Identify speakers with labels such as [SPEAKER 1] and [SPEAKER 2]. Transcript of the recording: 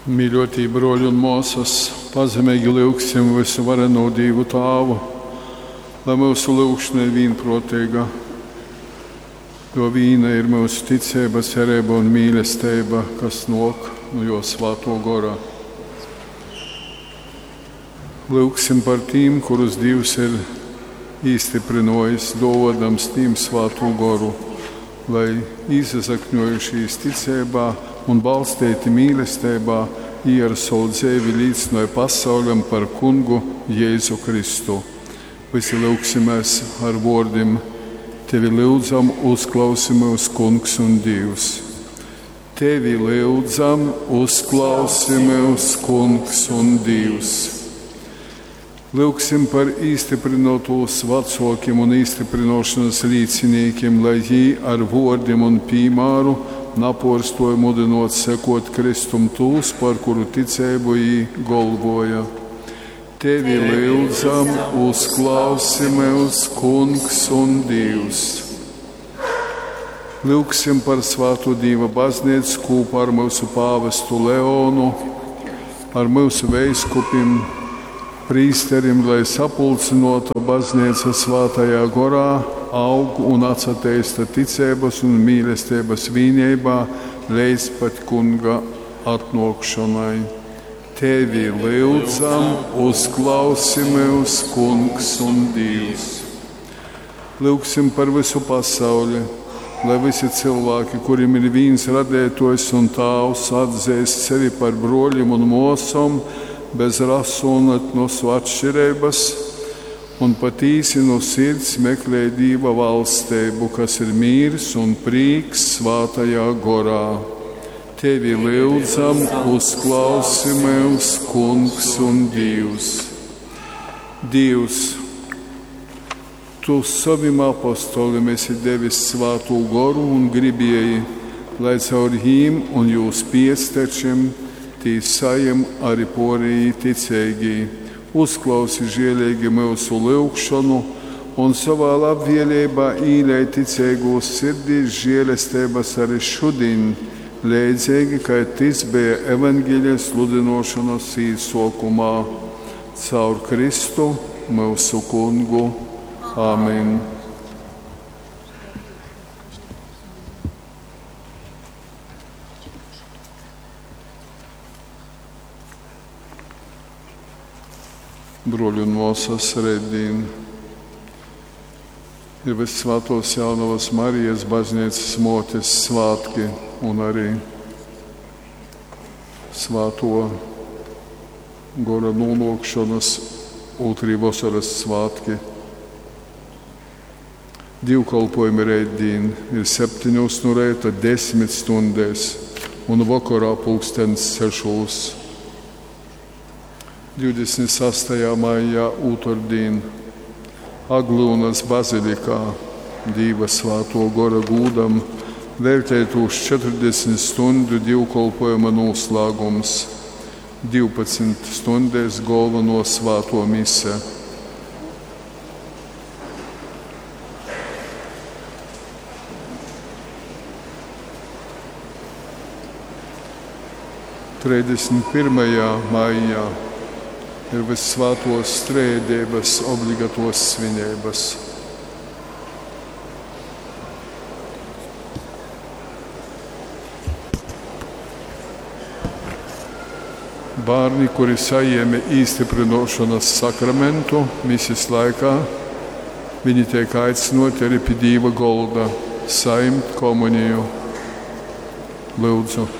[SPEAKER 1] Mīļotī bruoļi un muosys, pazemeigi lyugsim vysuvarenū Dīvu Tāvu, lai myusu lyugšona ir vīnpruoteiga, jo vīna ir myusu ticeiba, cereiba un mīlesteiba, kas nuok nu Juo Svātuo Gora. Lyugsim par tīm, kurus Dīvs ir īstyprynuojis, duovuodams tīm Svātū Goru, lai īsasakņuojušīs ticeibā un balsteiti mīlesteibā, jī ar sovu dzeivi līcynoj pasauļam par Kungu Jēzu Kristu. Vysi lyugsimēs ar vuordim: Tevi lyudzam, uzklausi myus, Kungs un Dīvs! Tevi lyudzam, uzklausi myus, Kungs un Dīvs! Lyugsim par īstyprynuotūs vacuokim un īstyprynuošonys līcinīkim, lai jī ar vuordim un pīmāru napuorstuoj mudynuot sekuot Kristum tūs, par kuru ticeibu jī golvuoja. Tevi lyudzam, uzklausi myus, Kungs un Dīvs! Lyugsim par svātu Dīva bazneicu kūpā ar myusu pāvestu Leonu, ar myusu veiskupim, prīsterim, lai sapulcynuota bazneica svātajā gorā aug un atsateista ticeibys un mīlesteibys vīneibā leidz pat Kunga atnuokšonai. Tevi lyudzam, uzklausi myus, Kungs un Dīvs! Lyugsim par vysu pasauli, lai vysi cylvāki, kurim ir vīns Radeituojs un Tāvs, atzeist sevi par bruolim un muosom bez rasu un etnosu atškireibys un patīsi nu sirds meklej Dīva valsteibu, kas ir mīrs un prīks svātajā gorā. Tevi lyudzam, uzklausi myus, Kungs un Dīvs! Dīvs, Tu sovim apostolim esi devis Svātū Goru un gribieji, lai caur jīm un jūs piectečim tī sajem ari puorejī ticeigī. Uzklausi žieleigi myusu lyugšonu un sovā labvieleibā īlej ticeigūs sirdīs žielesteibys ari šudiņ, leidzeigi kai tys beja Evangelija sludynuošonys īsuokumā. Caur Kristu, myusu Kungu. Amen. Bruoļi un muosys, reitdīn ir Vyssvātuos Jaunovys Marijas bazneicys muotis svātki un arī Svātuo Gora nūnuokšonys ūtrī vosorys svātki. Dīvkolpuojumi reitdīn ir septeņūs nu reita, desmit stundēs un vokorā pulkstens sešūs. 26. maijā, ūtardīn, Aglyunys bazilikā Dīva Svātuo Gora gūdam veļteitūs 40 stuņdu dīvkolpuojuma nūslāgums, 12 stuņdēs golvonuo svātuo mise. 31. maijā ir Vyssvātuos Trejadeibys obligatuos svineibys. Bārni, kuri sajēme īstyprynuošonys sakramentu misis laikā, viņi teik aicynuoti arī pi Dīva golda sajimt komuniju. Lyudzu.